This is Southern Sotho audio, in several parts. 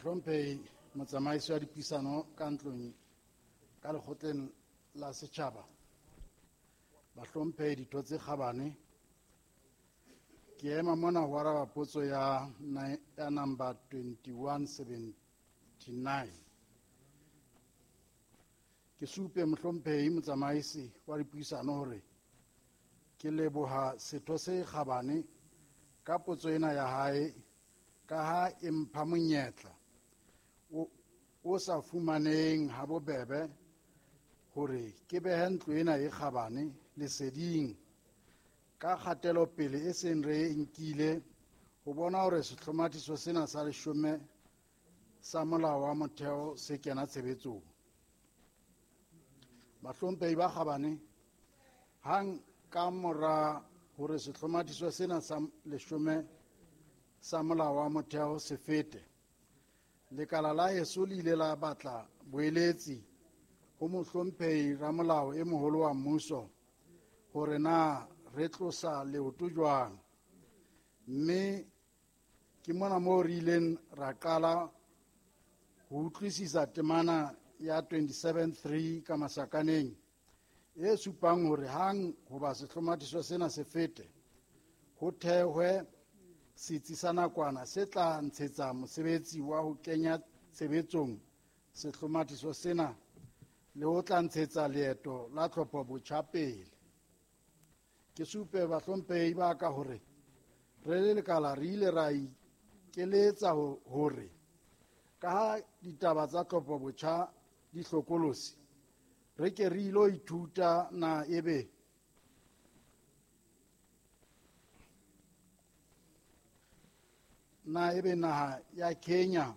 Mohlomphehi motsamaisi wa dipuisano ka ntlong ka lekgotleng la setjhaba, bahlomphehi ditho tse kgabane, ke ema mona ho araba potso ya number 2179. Ke supe mohlomphehi motsamaisi wa dipuisano hore ke leboha setho se kgabane ka potso ena ya hae, ka ha e mpha monyetla o sa fumaneng ha bobebe hore ke behe ntlo ena e kgabane leseding ka kgatelopele e seng re e nkile ho bona hore sehlomathiso sena sa leshome sa molao wa motheo se kena tshebetsong. Bahlomphehi ba kgabane, hang ka mora hore sehlomathiso sena sa leshome sa molao wa motheo se fete, lekala la heso le ile la batla boeletsi ho mohlomphehi ramolao e moholo wa mmuso hore na re tlosa leoto jwang, mme ke mona moo re ileng ra qala ho utlwisisa temana ya 27.3 ka masakaneng e supang hore hang hoba sehlomathiso sena se fete, ho thehwe setsi sa nakwana se tla ntshetsa mosebetsi wa ho kenya tshebetsong sehlomathiso sena le ho tla ntshetsa leeto la tlhopho botjha pele. Ke supe bahlomphehi ba ka hore re le lekala re ile ra ikeletsa hore ka ha ditaba tsa tlhopho botjha di hlokolosi, re ke re ilo ithuta na ebe naha ya Kenya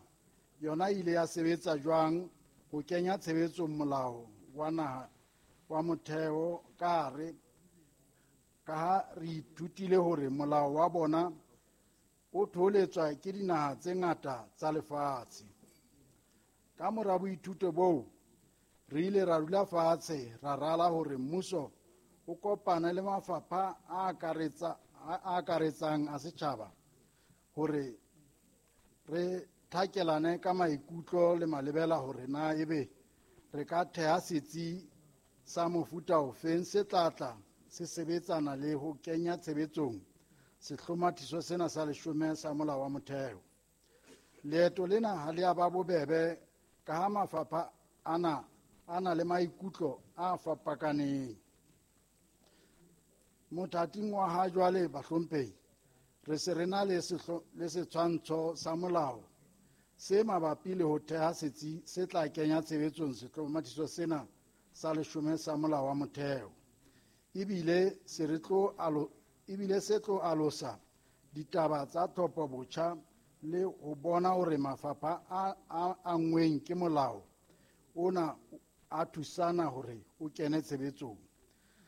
yona ile ya sebetsa jwang ho kenya tshebetsong molao wa naha wa motheo ka hare, ka ha re ithutile hore molao wa bona o tholetswa ke dinaha tse ngata tsa lefatshe. Ka mora boithuto boo, re ile ra dula fatshe ra rala hore mmuso o kopane le mafapha a akaretsang a setjhaba hore re thakelane ka maikutlo le malebela hore na ebe re ka theha setsi sa mofuta ofeng se tlatla se sebetsana le ho kenya tshebetsong sehlomathiso sena sa leshome sa molao wa motheo. Leeto lena ha le a ba bobebe ka ha mafapha ana a na le maikutlo a fapakaneng. Mothating wa ha jwale bahlomphehi, re se re na le setshwantsho sa molao se mabapi le ho theha setsi se tla kenya tshebetsong sehlomathiso sena sa leshome sa molao wa motheo. Ebile se tlo alosa ditaba tsa tlhopho botjha le ho bona hore mafapha a angweng ke molao ona a thusana hore o kene tshebetsong.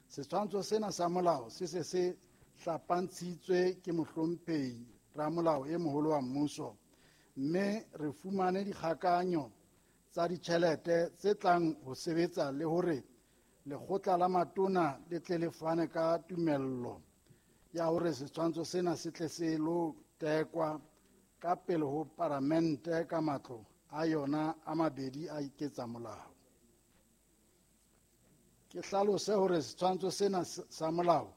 Setshwantsho sena sa molao se se se hlapantshitswe ke mohlomphehi ramolao e moholo wa mmuso, mme re fumane dikgakanyo tsa ditjhelete tse tlang ho sebetsa le hore lekgotla la matona le tle le fane ka tumello ya hore setshwantsho sena se tle se lo tekwa ka pele ho paramente ka matlo a yona a mabedi a iketsa molao. Ke hlalose hore setshwantsho sena sa molao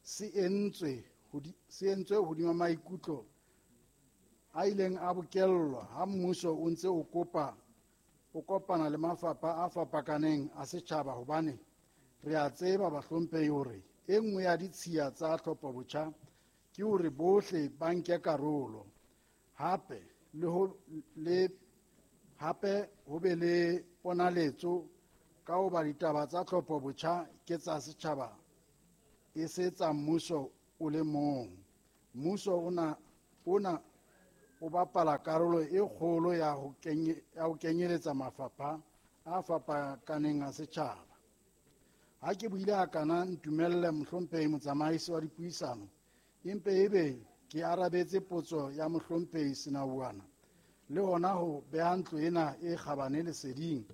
se entswe hodima maikutlo a ileng a bokellwa ha mmuso o ntse o kopana le mafapha a fapakaneng a setjhaba, hobane re a tseba bahlomphehi hore e nngwe ya ditshiya tsa tlhopho botjha ke hore bohle ba nke karolo, hape ho be le ponaletso ka hoba ditaba tsa tlhopho botjha ke tsa setjhaba e se tsa mmuso o le mong. Mmuso ona o bapala karolo e kgolo ya ho kenyeletsa mafapha a fapakaneng a setjhaba. Ha ke buile hakana, ntumelle mohlomphehi motsamaisi wa dipuisano, empe ebe ke arabetse potso ya mohlomphehi Senauana le hona ho beha ntlo ena e kgabane leseding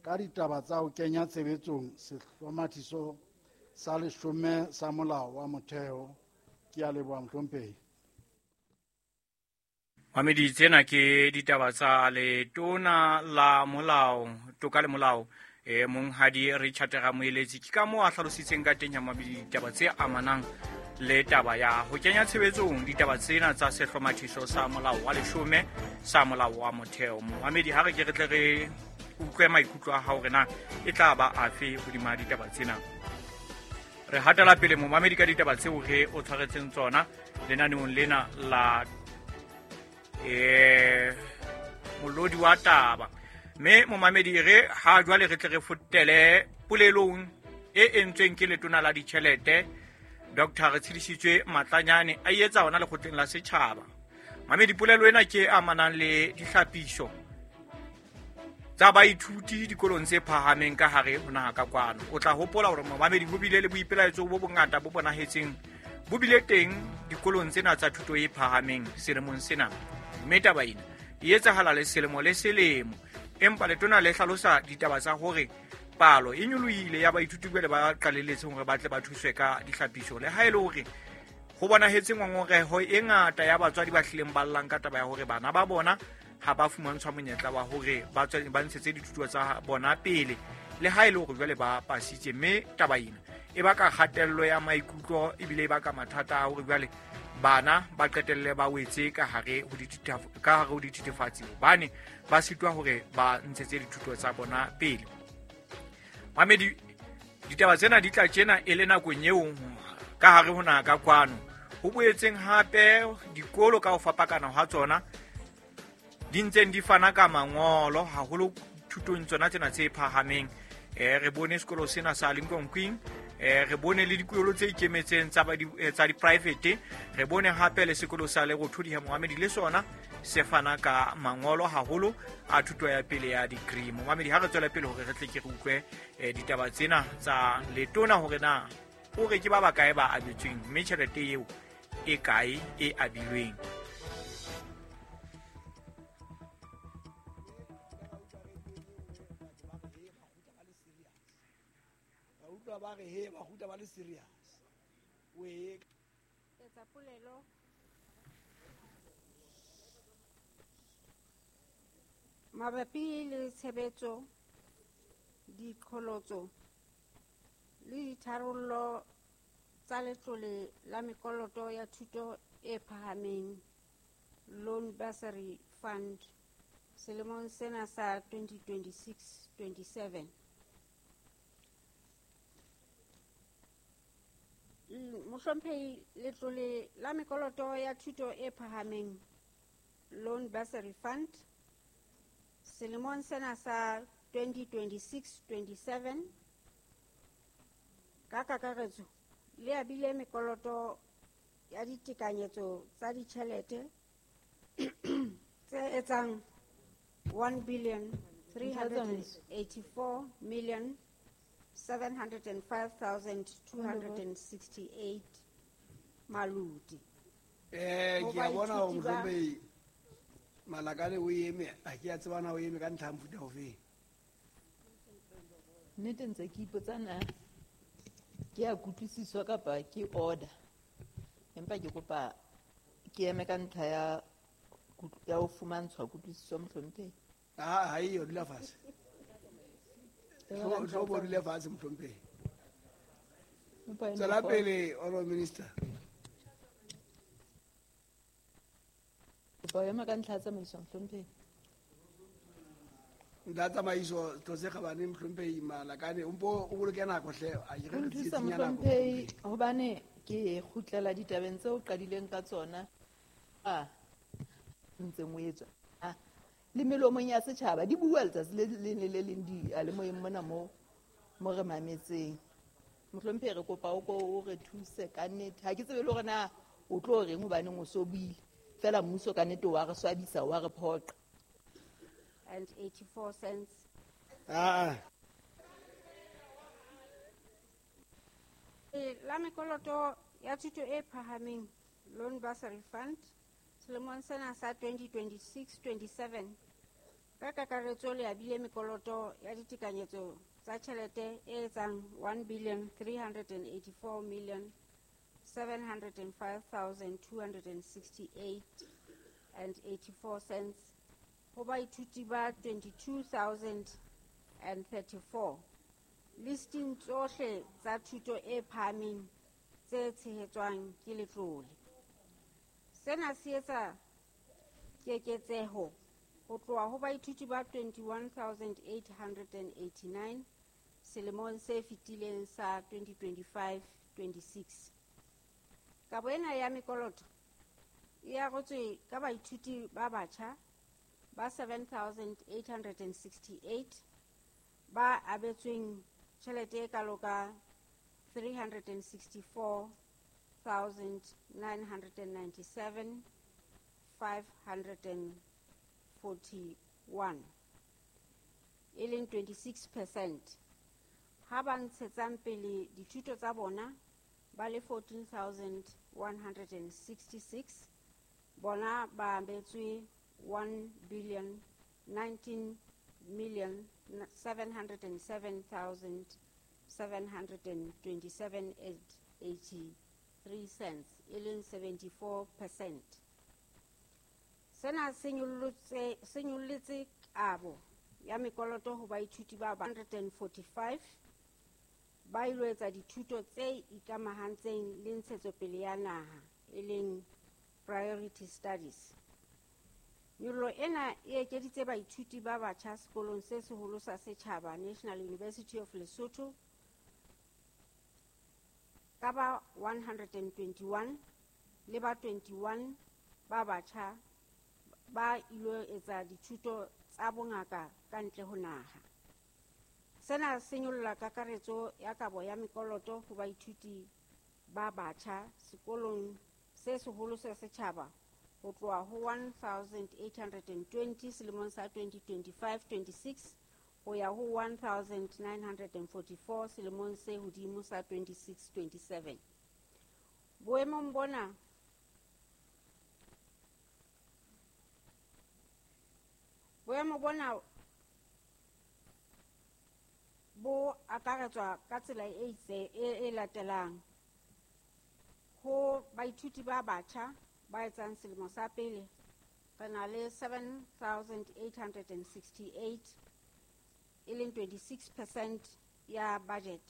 ka ditaba tsa ho kenya tshebetsong sehlomathiso sa leshome sa molao wa motheo. Ke a leboha mohlomphehi. Mamedi, tsena ke ditaba tsa letona la molao, toka le molao, monghadi Richard Ramoeletsi. Ke ka moo a hlalositseng ka teng ya mamedi ditaba tse amanang le taba ya ho kenya tshebetsong ditaba tsena tsa sehlomathiso sa molao wa 10 sa molao wa motheo. Momamedi, ha re ke re tle re utlwe maikutlo a hao hore na e tla ba afe hodima ditaba tsena. Re hatela pele momamedi ka ditaba tseo re o tshwaretseng tsona lenaneong lena la molodi wa taba. Mme momamedi, re ha jwale re tle re fotele polelong e entsweng ke letona la ditjhelete Dr. Retshidisitswe Matlanyane a etsa hona lekgotleng la setjhaba. Mamedi, polelo ena ke amanang le dihlapiso tsa baithuti dikolong tse phahameng ka hare ho naha ka kwano. O tla hopola hore momamedi ho bile le boipelaetso bo bongata bo bonahetseng bo bile teng dikolong tsena tsa thuto e phahameng selemong sena. Mme taba ena e etsahala le selemo le selemo, empa letona le hlalosa ditaba tsa hore palo e nyolohile ya baithuti jwale ba qalelletseng hore ba tle ba thuswe ka dihlapiso, le ha e le hore ho bonahetse ngongoreho e ngata ya batswadi ba hlileng ba llang ka taba ya hore bana ba bona ha ba fumantshwa monyetla wa hore ba tswe ba ntshetse dithuto tsa bona pele, le ha e le hore jwale ba pasitse. Mme taba ena e baka kgatello ya maikutlo ebile e baka mathata a hore jwale bana ba qetelle ba wetse ka hare ho dithethefatsi hobane ba sitwa hore ba ntshetse dithuto tsa bona pele. Mamedi, ditaba tsena di tla tjena e le nakong eo ka hare ho naha ka kwano ho boetseng hape dikolo ka ho fapakana ha tsona di ntseng di fana ka mangolo haholo thutong tsona tsena tse phahameng. Re bone sekolo sena sa Lincoln Queen, re bone le dikolo tse ikemetseng tsa di-private, re bone hape le sekolo sa Lerothodi ha Mohamedi le sona se fana ka mangolo haholo a thuto ya pele ya degree. Mohamedi, ha re tswele pele hore re tle ke re utlwe ditaba tsena tsa letona hore na o re ke ba bakae ba abetsweng mme tjhelete eo e kae e abilweng. Ba re he ba kgutla ba le serious. O e etsa polelo mabapi le tshebetso, diqholotso le ditharollo tsa letlole la mekoloto ya thuto e phahameng Loan Bursary Fund selemong sena sa 2026-27. Mohlomphehi, letlole la mekoloto ya thuto e phahameng Loan Bursary Fund selemong sena sa 2026-27 ka kakaretso le abile mekoloto ya ditekanyetso tsa ditjhelete tse etsang 1 384,705,268 malodi. Ke a bona hore mohlomphehi Malakane o eme, ha ke a tseba na o eme ka ntlha ya mofuta ofeng. Nnete ntse ke ipotsa na ke a kutlwisiswa kapa ke order, empa ke kopa ke eme ka ntlha ya ho fumantshwa kutlwisiso mohlomphehi. Ha eyo, dula fatshe. Tlo bo dule fatshe mohlomphehi. Tswela pele, Honorable Minister. Kopa ho ema ka ntlha ya tsamaiso mohlomphehi. Ntlha ya tsamaiso, setho se kgabane mohlomphehi Malakane, o mpo o boloke nako hle, a ke re O nthusa tsietsing ya nako. Mohlomphehi, hobane ke kgutlela ditabeng tseo o qadileng ka tsona a ntseng o etswa le melomong ya setjhaba di bua letsatsi le leng le le leng diyalemoyeng mona mo re mametseng. Mohlomphehi, re kopa o ko o re thuse ka nnete. Ha ke tsebe le hore na o tlo reng hobaneng o so buile. Feela mmuso ka nnete wa re swabisa, wa re phoqa. And 84 cents. La mekoloto ya thuto e phahameng Loan Bursary Fund selemong sena sa 2026-27 ka kakaretso le abile mekoloto ya ditekanyetso tsa tjhelete e etsang 1 384,705,268 and 84 cents ho baithuti ba 22,034 listing tsohle tsa thuto e phahameng tse tshehetswang ke letlole. Sena se etsa keketseho ho tloha ho baithuti ba 21,889 selemong se fetileng sa 2025-26. Kabo ena ya mekoloto e arotswe ka baithuti ba batjha ba 7,868 ba abetsweng tjhelete e kalo ka 364,997,541, e leng 26%, ha ba ntshetsang pele dithuto tsa bona ba le 14,166, bona ba abetswe 1 billion 19 million 707,727 and 83 cents, e leng 74%. Sena se nyollotse kabo ya mekoloto ho baithuti ba 145 ba ilo etsa dithuto tse ikamahantseng le ntshetsopele ya naha, e leng priority studies. Nyollo ena e ekeditse baithuti ba batjha sekolong se seholo sa setjhaba National University of Lesotho ka ba 121 le ba 21 ba batjha ba ilo etsa dithuto tsa bongaka ka ntle ho naha. Sena se nyolla kakaretso ya kabo ya mekoloto ho baithuti ba batjha sekolong se seholo sa setjhaba ho tloha ho 1,820 selemong sa 2025-26 ho ya ho 1,944 selemong se hodimo sa 26-27. Boemong bona boemo bona bo akaretswa ka tsela e itse e latelang. Ho baithuti ba batjha ba etsang selemo sa pele, re na le 7,868, e leng 26% ya budget.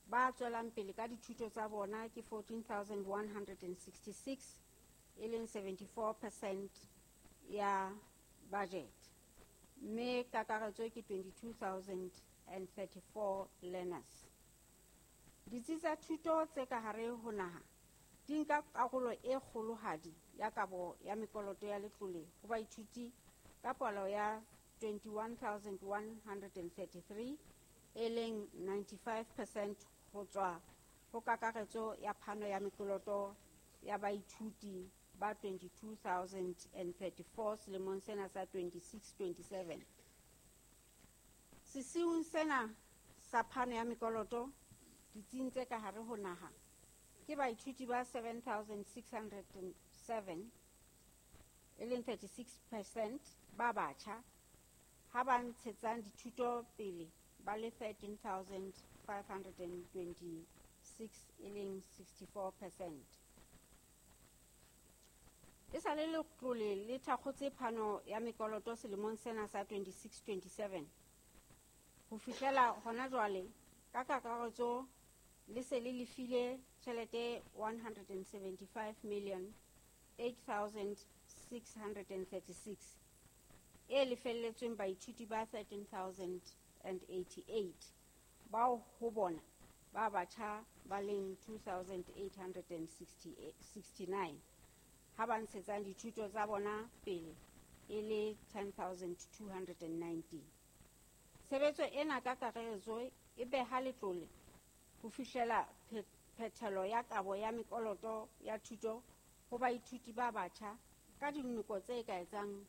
Ba tswelang pele ka dithuto tsa bona ke 14,166, e leng 74% ya budget. Mme kakaretso ke 22,034 learners. Ditsi tsa thuto tse ka hare ho naha di nka karolo e kgolohadi ya kabo ya mekoloto ya letlole ho baithuti ka palo ya 21,133, e leng 95% ho tswa ho kakaretso ya phano ya mekoloto ya baithuti ba 22,034 selemong sena sa 26-27. Sesiung sena sa phano ya mekoloto ditsing tse ka hare ho naha ke baithuti ba 7,607, e leng 36% ba batjha, ha ba ntshetsang dithuto pele ba le 13,526, e leng 64%. E sa le letlole le thakgotse phano ya mekoloto selemong sena sa 26-27. Ho fihlela hona jwale, ka kakaretso le se le lefile tjhelete 175,008,636 e lefelletsweng baithuti ba 13,088 bao ho bona ba batjha ba leng 2,869, ha ba ntshetsang dithuto tsa bona pele e le 10,219. Tshebetso ena ka kakaretso e beha letlole ho fihlela phethelo ya kabo ya mekoloto ya thuto ho baithuti ba batjha ka dinoko tse ka etsang